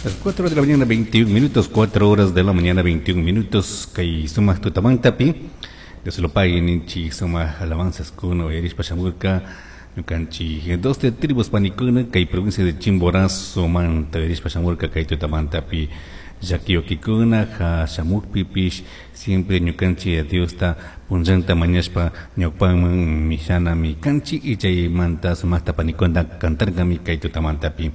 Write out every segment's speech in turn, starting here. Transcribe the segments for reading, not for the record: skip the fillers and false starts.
Las 4 de la mañana 21 minutos, 4 horas de la mañana 21 minutos, kay sumak tutamantapi, Dios lo pague ninchi sumak alabanzas kuna uyarishpa shamurka, ñukanchik 12 tribus panikuna kay provincia de Chimborazo manta uyarishpa shamurka kay tutamantapi llakiyukikuna ha shamukpipish siempre ñukanchik Diosta punllanta mañashpa ñawpaman mishanami kanchik y chaymanta sumakta panikuna cantarkami kay tutamantapi.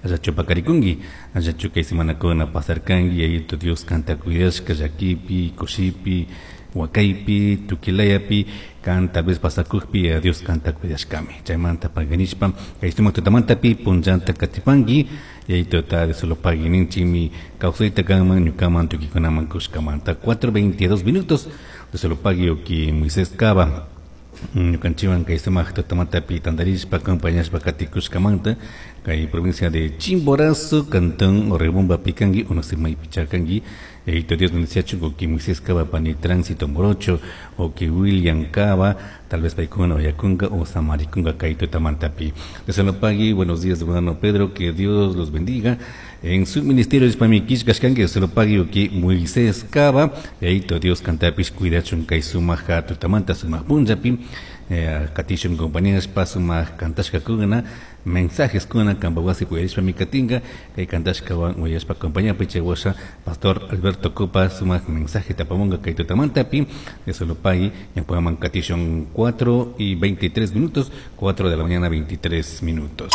Allachu pakarikunki, allachu kay semanakuna pasarkanki, Yayito Dios kanta cuidashka llakipi, kushipi, wakaypi, tukilayapi, kan tal vez pasakukpi Dios kanta cuidashkami. Chaymanta paganishpa kay sumak tutamantapi punllanta katipanki, Yayito ta de solo paguininchimi kawsayta kanman ñukaman tukikunaman kushkamanta. 4:22 minutos de solo pagui oki Moisés Cava. Ñukanchikwan kay sumak tutamantapi tantarishpa acompañashpa katikushkamanta kay provincia de Chimborazo, cantón Rebomba pikanki, uno se maypi chakanki. Yayito Dios bendeciachun oki Moisés Cava pani Tránsito Morocho, oki William Cava, tal vez paykuna oyakunka o samarikunka kay tutamantapi. Dios lo pague, buenos días hermano Pedro, que Dios los bendiga. En su ministerio de Pamikishkashkanki, Dios lo pague oki Moisés Cava, Yayito Dios kantapis cuidachun kay sumak tutamanta sumak punllapi. Katishun compañeras pa sumak kantashkakuna, mensajes kuna kanpa wasi uyarishpa mikatinka, kay kantashkawan uyashpa compañía pichawasha Pastor Alberto Copa sumak mensaje tapamunga kay tutamantapi. Dios lo pague, ñawpaman katishun 4 y 23 minutos, 4 de la mañana 23 minutos.